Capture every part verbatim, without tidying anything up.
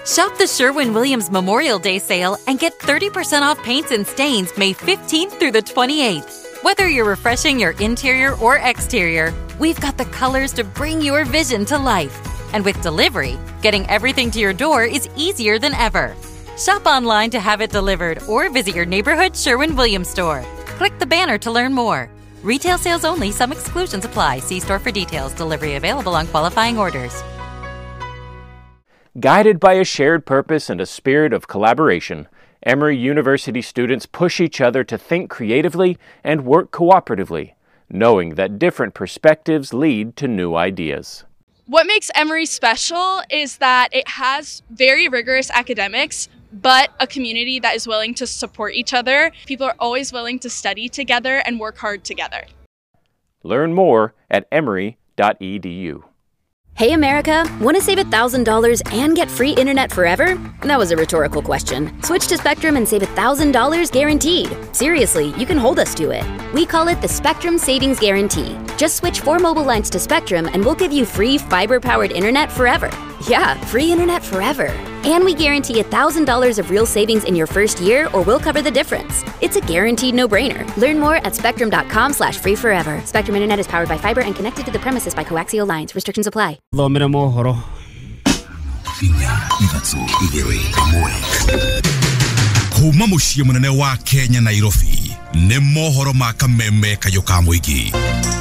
Shop the Sherwin-Williams Memorial Day sale and get thirty percent off paints and stains May fifteenth through the twenty-eighth. Whether you're refreshing your interior or exterior, we've got the colors to bring your vision to life. And with delivery, getting everything to your door is easier than ever. Shop online to have it delivered or visit your neighborhood Sherwin-Williams store. Click the banner to learn more. Retail sales only. Some exclusions apply. See store for details. Delivery available on qualifying orders. Guided by a shared purpose and a spirit of collaboration, Emory University students push each other to think creatively and work cooperatively, knowing that different perspectives lead to new ideas. What makes Emory special is that it has very rigorous academics, but a community that is willing to support each other. People are always willing to study together and work hard together. Learn more at emory dot e d u. Hey America, want to save one thousand dollars and get free internet forever? That was a rhetorical question. Switch to Spectrum and save one thousand dollars guaranteed. Seriously, you can hold us to it. We call it the Spectrum Savings Guarantee. Just switch four mobile lines to Spectrum and we'll give you free fiber-powered internet forever. Yeah, free internet forever. And we guarantee one thousand dollars of real savings in your first year, or we'll cover the difference. It's a guaranteed no-brainer. Learn more at spectrum dot com slash free forever. Spectrum Internet is powered by fiber and connected to the premises by coaxial lines. Restrictions apply. Thomera mohoro. Kuma muciĩ mũnene wa Kenya Nairobi nĩ mohoro ma kameme kayũ ka mũingĩ.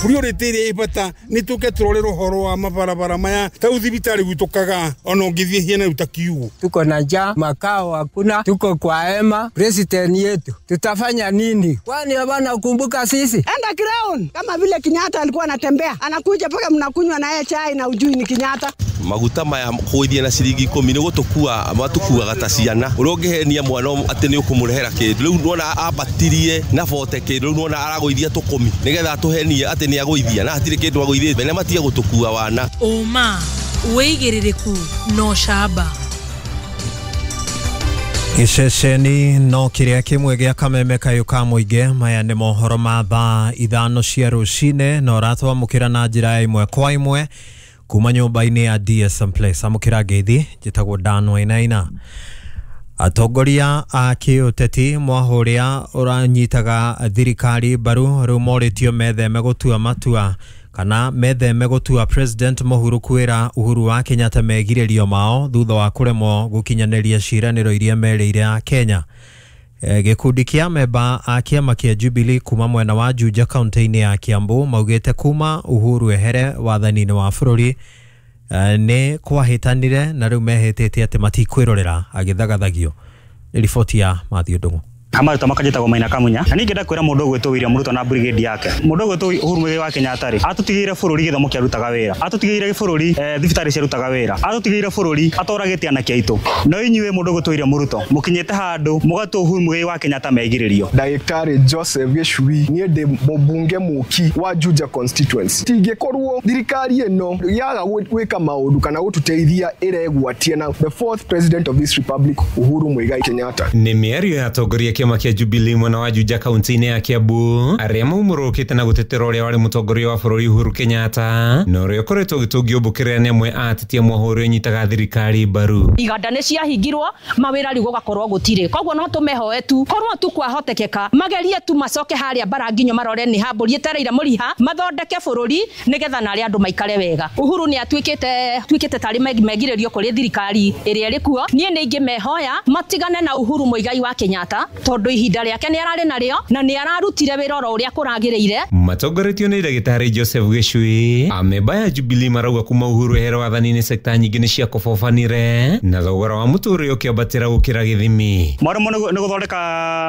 Priority ĩrĩa ĩ bata nĩ tũke tũrore ũhoro wa mabarabara maya ta thibitarĩ gwitũ Kagaa ona ũngĩthiĩ hiana rĩu ta kiugo. Tuko na njaa, makao hakuna, tuko kwa hema. President yetu tutafanya nini? Kwani hawana kumbuka sisi? Enda ground kama vile Kenyatta alikuwa anatembea, anakuja paka mnakunywa na yeye chai na ujui ni Kenyatta. Maguta maya kũgũithia na ciringi ikũmi nĩ gũtũkua matukuaga ta ciana ũrĩa ũngĩhenia mwana atĩ nĩ ũkũmũrehera kĩndũ rĩu nĩwona ambatirie na bote kĩndũ rĩu nĩwona aragũithia tũkũmi nĩgetha atũhenie atĩ nĩ agũithia na hatirĩ kĩndũ agũithĩte na matige gũtũkua wana. Ũma wĩigĩrĩrĩku no camba. Gĩceceni no kĩrĩa kĩmwe gĩa kameme kayũ ka mũingĩ. Maya nĩ mohoro ma thaa ithano cia rũcinĩ na ũratwamũkĩra na njĩra ya ĩmwe kwa ĩmwe kuma nyũmba-inĩ ya D S M Place. Amũkĩra ngeithi, njĩtagwo Dan Wainaina. Atongoria a kĩũteti mwahũrĩa ũranyitaga thirikari mbaru rĩu morĩtio metheme gũtua matua kana metheme gũtua President Mũhuru kwĩra Uhuru wa Kenyatta megirĩrio mao thutha wa kũremwo gũkinyanĩria ciĩranĩro iria merĩire a Kenya. E, gĩkundi kĩa memba a kĩama kĩa Jubilee kuma mwena wa Juja kaunti-inĩ ya Kiambu maugĩte kuma Uhuru ehere wathani-inĩ wa bũrũri e, nĩ kwahĩtanire na rĩu mehĩtĩte atĩ matikwĩrorera agĩthagathagio. Nĩ riboti ya Matthew Ndung'u. Amaruta makajĩtagwo Maina Kamunya na ningĩ ndakwĩra mũndũ ũgwĩtwo William Ruto na brigade yake. Mũndũ ũgwĩtwo Uhuru Muigai wa Kenyatta rĩ atũtigĩire bũrũri gĩthomo kĩarutaga wĩra, atũtigĩire bũrũri eh, thibitarĩ ciarutaga wĩra, atũtigĩire bũrũri atoragĩte anake aitũ. No inyuĩ mũndũ ũgwĩtwo William Ruto mũkinyĩte handũ mũgatua Uhuru Muigai wa Kenyatta megirĩrio. Ndagĩtarĩ Joseph Gĩcui niĩ ndĩ mũmbunge mũki wa Juja constituency. Tingĩkorwo thirikari ĩno yaga gwĩka maũndũ kana gũtũteithia ĩregwatia na the fourth president of this republic Uhuru Muigai Kenyatta. Nĩ mĩario ya atongoria kĩama kĩa Jubilee mwena wa Juja kaunti-inĩ ya Kiambu arĩa maumũrũkĩte na gũtetera ũrĩa warĩ mũtongoria wa bũrũri Uhuru Kenyatta na ũrĩa ũkoretwo ũgĩtũngio mbũkĩrĩra nĩ amwe a ateti amwe ũrĩa ũnyitaga thirikari mbaru. Iganda nĩ ciahingirwo mawĩra rĩu gũgakorwo gũtirĩ, koguo no tũmehoe tu korwo tu kwahotekeka magerie tu macoke harĩa bara nginyo marore nĩ hambũri ĩtereire mũriha mathondeke bũrũri nĩgetha narĩa andũ maikare wega. Uhuru nĩ atuĩkĩte tuĩkĩte tarĩ megirĩrio kũrĩ thirikari ĩrĩa ĩrĩ kuo. Niĩ nĩ ingĩmehoya matigane na Uhuru Muigai wa Kenyatta tondu ihinda rĩake nĩ ararĩ narĩo na nĩ ararutire wĩra oro ũrĩa kũragĩrĩire. Matongoretio nĩ ndagĩtarĩ Joseph Gĩcui amemba ya Jubilee marauga kuma Uhuru ehere wathani-inĩ sekta nyingĩ nĩ ciakobobanire na thogora wa mũtũrĩre ũkĩambatĩra gũkĩra gĩthimi. Mwaremwo nĩ gũthondeka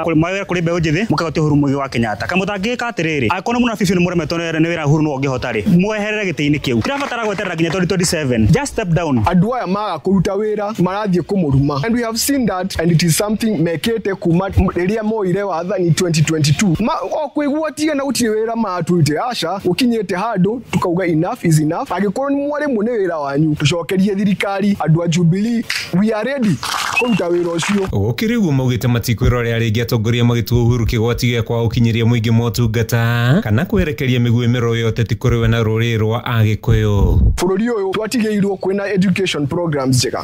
mawĩra kũrĩ mbeũ njĩthĩ mũkagotia Uhuru Muigai wa Kenyatta. Kamũtangĩka atĩrĩrĩ angĩkorwo mũna bibi nĩ mũremetwo nĩ wĩra Uhuru no ũngĩhota rĩ mweherere gĩtĩ-inĩ kĩu. Tirabatara gweterera nginya twenty twenty-seven. Just step down. Andũ aya maga kũruta wĩra marathiĩ kũmũruma and we have seen that and it is something mekĩte kuma rĩrĩa moire wathani twenty twenty-two. Ma o kwĩgwatia na gũtirĩ wĩra matũrute aca ũkinyĩte handũ tukauga enough is enough. Angĩkorwo nĩ mwaremwo nĩ wĩra wanyu tũcokerie thirikari. Andũ a Jubilee we are ready kũruta wĩra ũcio. Gũkĩrĩ ũguo maugĩte matikwĩrorera rĩngĩ atongoria magĩtua Uhuru kĩgwati gĩa kwaga gũkinyĩria mũingĩ motungata kana kwerekeria mĩguĩ mĩrũrũ ya ũteti kũrĩ we na rũrĩrĩ rwa Agĩkũyũ. Bũrũri ũyũ twatigĩirwo kwĩna education programs njega.